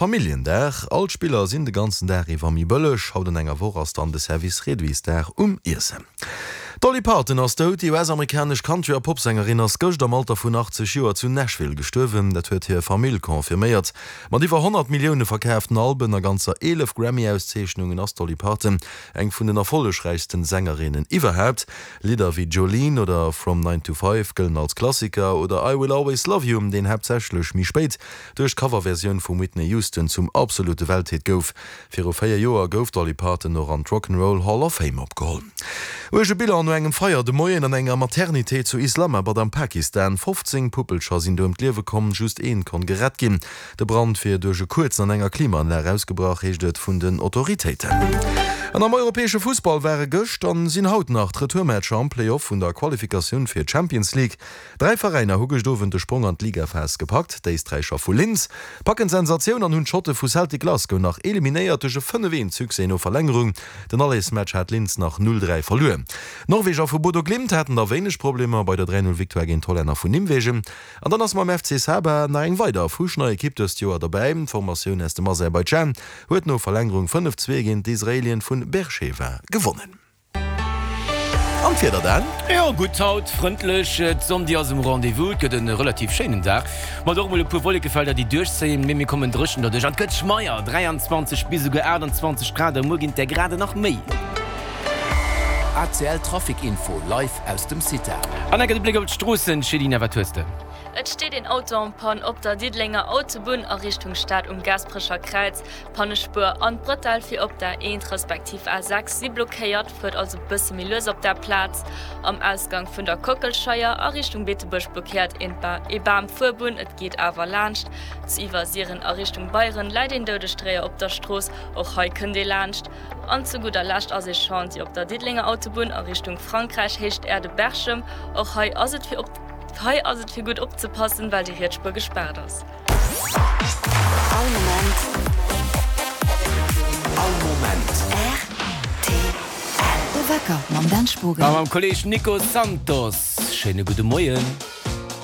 Familljendag, All d'Spiller sinn de ganzen Dag iwwer méi bëlleg. Haut an enger Woch ass dann de Service Réduitsdag um Iessen. D'Dolly Parton ass dout. Déi US-amerikanesch Country a Popsängerin ass gëscht am Alter vun 80 Joer zu Nashville gestuerwen. Dat huet hir Famill confirméiert. Mat iwwer 100 Millioune verkaaften Alben a ganzer 11 Grammy-Auszeechnungen ass d'Dolly Parton eng vun den erfollegräichsten Sängerinnen iwwerhaapt. Lidder wéi Jolene oder From Nine to Five gëllen als Klassiker oder I Will Always Love You, deen haaptsächlech méi spéit duerch d'Coverversioun vum Whitney Houston zum absolute Welthit gouf. Viru 4 Joer gouf d'Dolly Parton och an d'Rock 'n' Roll Hall of Fame opgeholl. Uerge Bilan no engem Feier de Moien an enger Maternité zu Islamabad am Pakistan. 15 Puppelcher sinn do ëm d'Liewe komm, just een konnt gerett ginn. De Brand wier duerch e Kuerzen an enger Klimaanlag ausgebrach, heescht et vun den Autoritéiten. An am europäesche Fussball ware gëscht an sinn haut nach d'Retourmatcher am Play-Off vun der Qualifikatioun fir d'Champions League. Dräi Veräiner hu gëscht Owend de Sprong an d'Ligaphas gepackt. D'Éisträicher vu Linz packen d'Sensatioun an hunn d'Schotte vu Celtic Glasgow nach eliminéiert duerch e 5, 1 Succès no Verlängerung. Den Allersmatch hat Linz nach 0, 3 verluer. D'Norweger vu Bodo Glimt haten da wéineg Problemer bei der 3, 0 Victoire géint d'Hollänner vun Nimwegen. An dann ass mam FC Saba nach eng weider fuschnei Ekipp dëst Joer dobäi. D'Formatioun aus dem Aserbaidschan huet no Verlängerung 5, 2 géint d'Israelien vun Beersheva gewonnen. An d'Wieder dann? Jo, gutt haut, frëndlech, d'Sonn déi ass um Rendez-vous. Et gëtt e relativ schéinen Dag, mat och mol e puer Wollekefelder déi duerchzéien, mee mir kommen dréchen derduerch an et gëtt schmeier, 23 bis esouguer 28 Grad a muer ginn et der Grade nach méi. ACL Trafic Info live aus dem CITA. An enke de Bléck op d'Stroossen, Céline, wat hues de? Et steet een Auto en panne op der Diddelenger Autobunn a Richtung Stad um Gaasperecher Kräiz. D'Pannespuer an d'Bretelle fir op der A1 respektiv A6 si blockéiert, fuert also bësse méi lues op där Plaz. Am Ausgang vun der Kockelscheier a Richtung Beetebuerg blockéiert een ee Bam d'Fuerbunn, et geet awer laanscht. Zu Iwwersiren a Richtung Beieren läit een Doudegdréier op der Strooss, och hei kënnt ee laanscht. An zu gudder Lescht ass ee Chantier op der Diddelenger Autobunn a Richtung Frankräich, Héicht Äerde-Berchem. Och hei ass et fir op hei ass et fir gutt opzepassen, well déi riets Spuer gespaart ass. All Moment. All Moment. Rtl. De Wecker mam Dan Spogen. A mam Kolleg Nico Santos. Schéine gudde Moien.